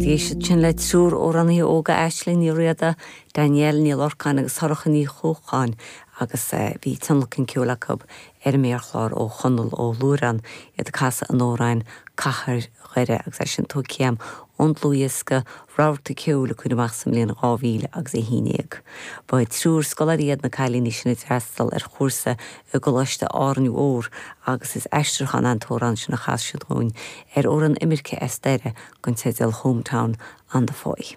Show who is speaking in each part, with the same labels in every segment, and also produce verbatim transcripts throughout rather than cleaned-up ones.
Speaker 1: Táimid ag éisteacht ansin le triúr amhránaithe óga Aisling Ní Riada, Danielle Ní Lorcáin agus Sorcha Ní Chuacháin agus bhí tionlacan ceoil acu ar an méarchlár ó Chonall Ó Luarán iad ag casadh an amhráin Cathair Dhoire agus é sin tógtha ón dlúthdhiosca Rabharta Ceoil a cuireadh amach sa mbliain dhá mhíle agus a haon déag. Ba triúr scoláirí iad na cailíní sin a d'fhreastail ar chúrsa i gColáiste Árainn Mhór agus is aistriúchán an t-amhrán sin a chas siad dúinn ar amhrán imirce as Doire den teideal Hometown on the Foy.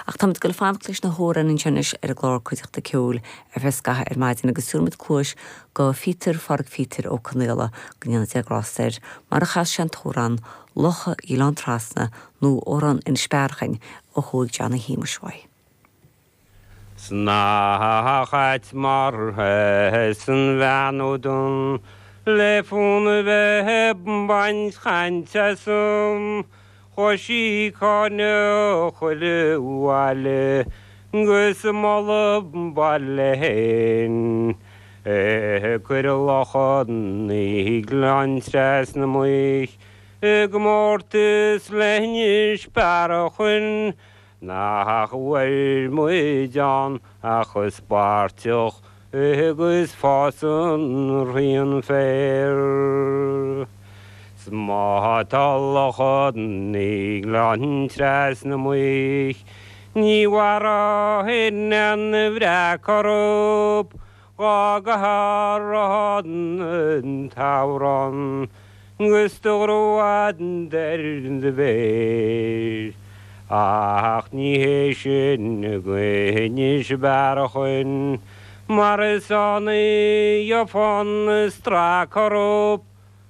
Speaker 1: Ach táimid ag goil fanacht leis na hamhráin anois ar an gclár Cuideachta Ceoil ar feadh scaitheamh ar maidin agus tabharfaimid cluas go Phíotar Phádraig Phíotair Ó Conaola go ndéana Dia grásta air mar a chas sé an t-amhrán Locha Ghleann Trasna nó amhrán Inis Bearachain ó thóig Johnny Shéamuis uaidh.
Speaker 2: Sna chait mar san bheanúdún le fún bheith baint chainte sum, Chuaigh sí cáineadh chuile bhaile gus moladh baile féin. Cuir Locha na Gleann Trasna muich i gcomórtas le hInis Bearachain nach bhfuil muid ann ach is páirteach agus fásann rian féir. Má tá Locha na Gleann Trasna muich, ní mhairfidh an bhreac orthu dhá gcathair an t-amhrán gus do ghrúad ar do bhéir. Ach ní hé sin go hInis Bearachain, mar is ann a gheofá an stráic orthu